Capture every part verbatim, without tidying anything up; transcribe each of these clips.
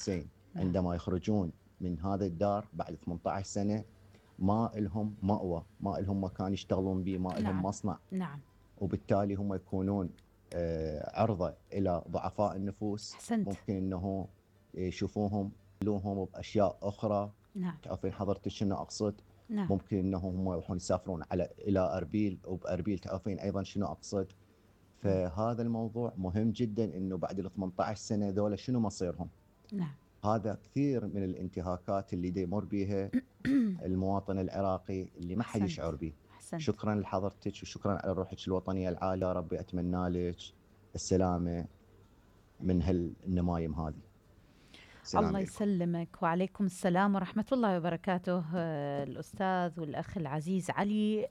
الحسين عندما يخرجون من هذا الدار بعد ثمانية عشر سنة ما لهم مأوى، ما لهم مكان يشتغلون به، ما لهم نعم. مصنع. نعم. وبالتالي هم يكونون عرضة إلى ضعفاء النفوس. أحسنت. ممكن أنه يشوفوهم يلوهم بأشياء أخرى. نعم. تعرفين حضرتك شنو أقصد؟ نعم. ممكن أنه هم يروحون يسافرون على إلى أربيل، وبأربيل تعرفين أيضا شنو أقصد. فهذا الموضوع مهم جدا، أنه بعد ال ثمانية عشر سنة ذولا شنو مصيرهم. نعم. هذا كثير من الانتهاكات اللي دي يمر بيها المواطن العراقي اللي ما حد يشعر به. شكرا لحضرتك وشكرا على روحك الوطنية العالية. ربي أتمنى لك السلامة من هالنمايم هذه. الله عليكم. يسلمك. وعليكم السلام ورحمة الله وبركاته. الأستاذ والأخ العزيز علي،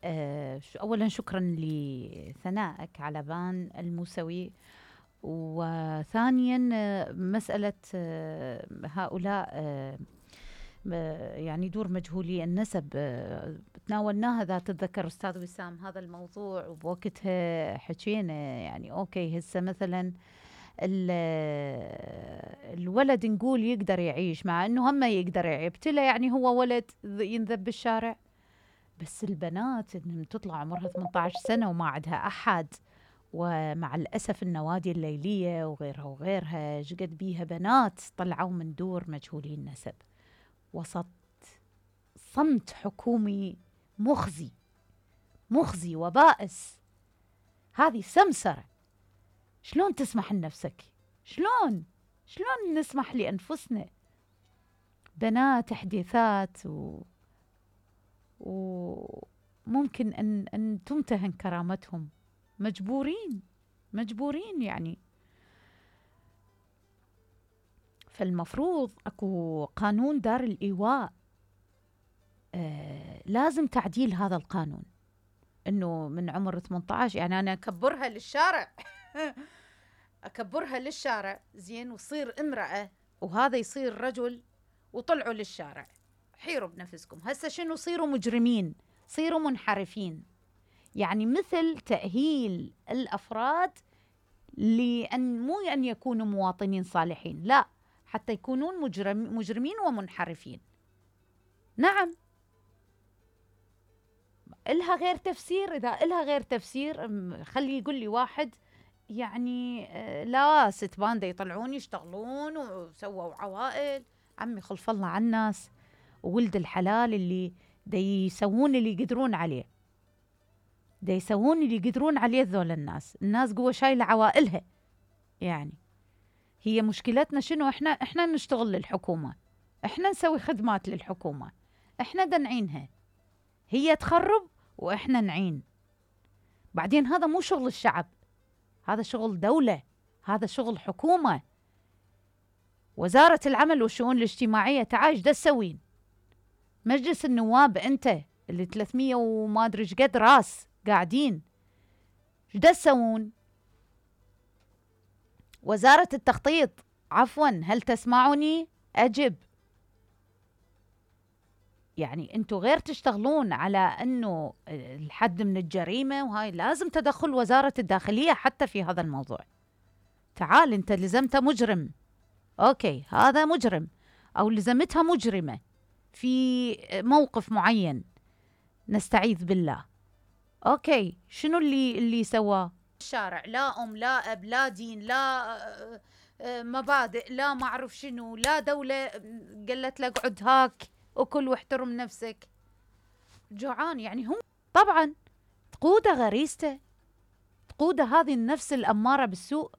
أولا شكرا لثنائك على بان الموسوي، وثانيا مسألة هؤلاء يعني دور مجهولي النسب تناولناها ذات الذكر أستاذ وسام هذا الموضوع، وبوقتها حكينا يعني أوكي هسه مثلا الولد نقول يقدر يعيش، مع أنه هم يقدر يبتلى، يعني هو ولد ينذب بالشارع. بس البنات إنهم تطلع عمرها ثمانية عشر سنة وما عندها أحد، ومع الأسف النوادي الليلية وغيرها وغيرها جقد بيها بنات طلعوا من دور مجهولي النسب وسط صمت حكومي مخزي مخزي وبائس. هذه سمسرة. شلون تسمح لنفسك؟ شلون شلون نسمح لأنفسنا؟ بنات حديثات و... وممكن أن, أن تمتهن كرامتهم، مجبورين مجبورين يعني. فالمفروض أكو قانون دار الإيواء، آه لازم تعديل هذا القانون، إنه من عمر ثمانية عشر يعني أنا أكبرها للشارع أكبرها للشارع زين، وصير امرأة وهذا يصير رجل، وطلعوا للشارع. حيروا بنفسكم هسه شنو؟ صيروا مجرمين، صيروا منحرفين. يعني مثل تأهيل الأفراد لأن مو أن يكونوا مواطنين صالحين، لا، حتى يكونون مجرم مجرمين ومنحرفين. نعم، إلها غير تفسير. إذا إلها غير تفسير خلي يقول لي واحد يعني لا ست باندة يطلعون يشتغلون وسووا عوائل. عمي خلف الله على الناس وولد الحلال اللي دي يسوون اللي يقدرون عليه، دي يسوون اللي يقدرون عليه ذول الناس. الناس قوة شايلة عوائلها. يعني هي مشكلتنا شنو؟ احنا احنا نشتغل للحكومة، احنا نسوي خدمات للحكومة، احنا دنعينها، هي تخرب واحنا نعين. بعدين هذا مو شغل الشعب، هذا شغل دولة، هذا شغل حكومة. وزارة العمل والشؤون الاجتماعية تعال ايش دا تسوين؟ مجلس النواب انت اللي ثلاثمية وما ادري ايش قد راس قاعدين، ايش دا تسوون؟ وزارة التخطيط عفوا هل تسمعوني؟ أجب. يعني انتوا غير تشتغلون على انه الحد من الجريمة، وهاي لازم تدخل وزارة الداخلية حتى في هذا الموضوع. تعال انت لزمت مجرم، اوكي هذا مجرم او لزمتها مجرمة في موقف معين، نستعيذ بالله، اوكي شنو اللي اللي سواه؟ الشارع لا ام لا اب لا دين لا مبادئ لا ما اعرف شنو، لا دولة قالت لك اقعد هاك وكل واحترم نفسك. جوعان يعني هم طبعا تقوده غريزته، تقوده هذه النفس الأمارة بالسوء.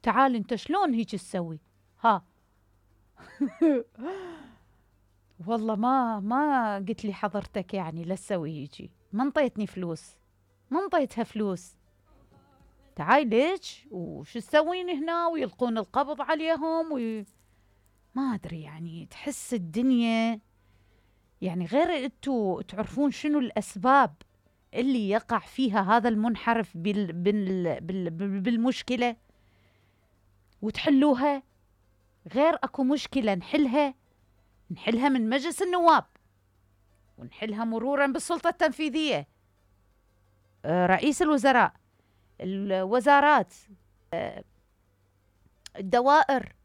تعال انت شلون هيك تسوي؟ ها والله ما ما قلت لي حضرتك يعني لا تسوي هيجي، ما انطيتني فلوس، ما انطيتها فلوس، تعاي ليش وش تسوين هنا؟ ويلقون القبض عليهم وي... ما أدري يعني. تحس الدنيا يعني غير انتوا تعرفون شنو الأسباب اللي يقع فيها هذا المنحرف بال... بال... بال... بالمشكلة وتحلوها. غير أكو مشكلة نحلها نحلها من مجلس النواب، ونحلها مرورا بالسلطة التنفيذية، رئيس الوزراء، الوزارات، الدوائر،